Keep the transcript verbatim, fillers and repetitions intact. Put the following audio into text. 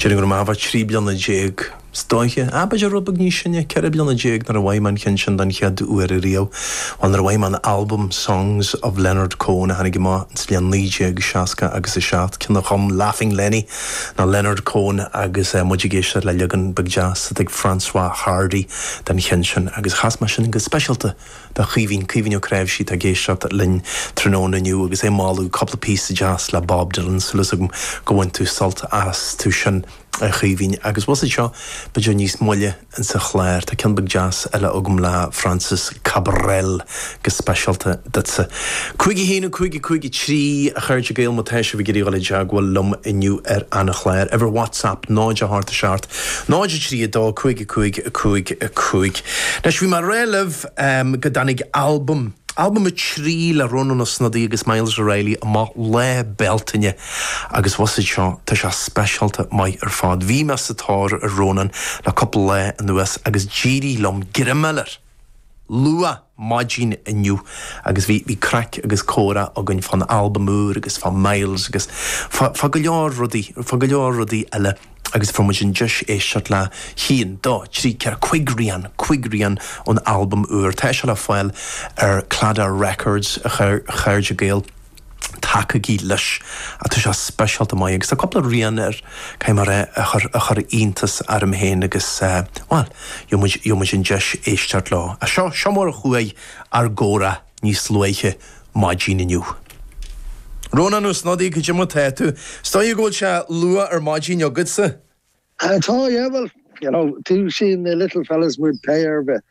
Déarfainn go raibh mé trí bliana déag is dóiche, ah b'fhéidir rud beag níos sine, ceithre bliana déag nuair a bhfuair mé an ceann sin den chéad uair riamh. Bhuel nuair a bhfuair mé an albam Songs of Leonard Cohen a tháinig amach sa bhliain naoi déag seasca agus a seacht, ceann a chum Laughing Lenny ná Leonard Cohen agus muid ag éisteacht le leagan beag deas atá ag François Hardy den cheann sin agus chas mé sin go speisialta do Chaoimhín Caoimhín Ó Cnáimhsí atá ag éisteacht linn tráthnóna inniu agus é ag moladh cúpla píosa deas le Bob Dylan súil agam go bhain tú sult astu sin a Chaoimhín agus bhus seo b'fhéidir níos moille insa chlár Tá ceann beag deas eile agam le Francis Cabrel go speisialta duitse. Cúig a haon cúig cúig trí a chairde Gael má tá sibh ag iarraidh dul i dteagmháil liom inniu ar an chlár. Uimhir WhatsApp náid a hocht seacht náid trí a dó cúig cúig cúig cúig. Anois bhí mé ag rá libh um, go dtáinig albam Albam a trí le Rónán Ó Snodaigh agus Myles O'Reilly amach lá Bealtaine agus bhus seo tá sé speisialta maith ar fad. Bhí mé sa tóir ar Rónán le cúpla lá anuas agus d'éirigh liom greim a fháil air. Luath maidin inniu agus bhí bhí craic agus comhrá againn fán albam úr agus fá Myles agus fá go leor rudaí fá go leor rudaí eile agus fuair muid an deis éisteacht le haon, dó, trí, ceathair, cúig rian, cúig rian ón albam úr. Tá sé le fáil ar Claddagh Records a chairde Gael. Tacaigí leis a tá sé speisialta maith agus tá cúpla rian air cé mar é a chur a chur iontas orm féin agus well, gheobhaidh muid an deis éisteacht leo. A seo seo mar a chuaigh ár gcomhrá níos luaithe maidin inniu. Rónán Ó Snodaigh cad é mar atá tú, Is dóigh go bhfuil sé luath ar maidin agatsa? Tá yeah, well, you know, dúisíonn na little fellas muid pé ar bith.